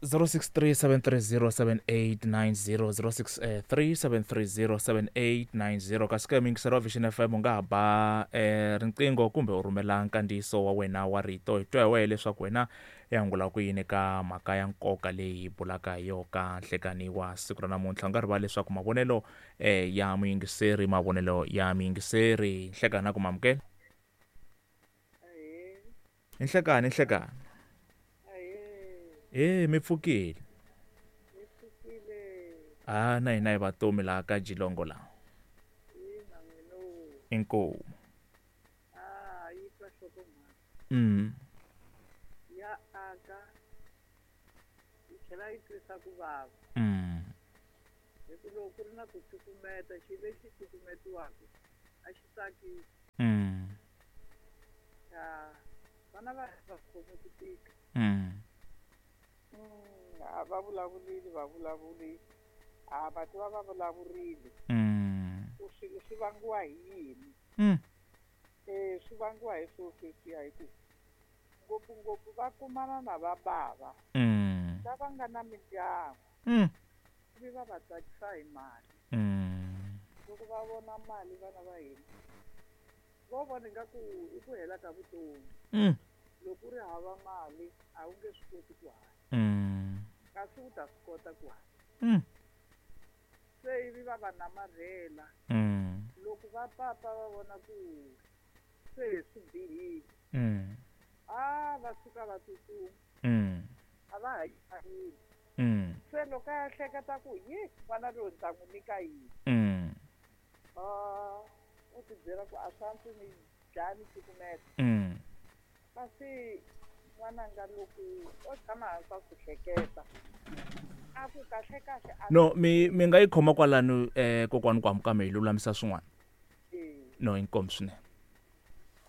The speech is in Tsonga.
063 730 7890, 063 730 7890. Kasi ka muyingiseri wa Vision FM, u nga ha ba riqingho kumbe u rhumela nkandziyiso wa wena wa rito, hi twa hi wehe leswaku wena i angula ku yini ka mhaka ya nkoka leyi hi bulaka hi yo ka nhlekani wa siku ra namuntlha. U nga rivali leswaku mavonelo ya muyingiseri, mavonelo ya muyingiseri. Nhlekani na ku mamukela. I nhlekani, i nhlekani. E mi pfukile? A na hina hi vatomi laha ka Jilongo laha. Inkomu. Ya aka, yi tlhela yi twisa ku vava, hi ku loko ku ri na ku cukumeta, xilo lexi cukumetiwaka a xi tsakisi. Ya vana va khome ku tika. A va vulavulile, va vulavuli, a va tiva va vulavurile ku swilo swi vangiwa hi yini. Swi vangiwa hi swo sweswiya, hi ku ngopfungopfu va kumana na va bava lava nga na mindyangu, ivi va va tsakisa hi mali. Loko va vona mali, vana va hina vo vona ingaku i ku hela ka vutomi. Loko u ri hava mali, a wu nge swi koti ku hanya, kasi u ta swi kota ku hanya. Se ivi va va namarhela. Loko va papa va vona ku se swi bihile, a va suka va tsutsuma, a va ha yini. Se loko a ya hleketa ku yi n'wana loyi ni ta n'wi nyika yini, a u ti byela ku a swi antswi ni dlaya ni cukumeta. Kasi n'wananga loko o tshama hansi a swi hleketa, a ku kahle kahle a No, mi nga yi khoma kwalano, kokwani, ku hamukame hi lulamisa swin'wana. Eh. No, inkomu swinene.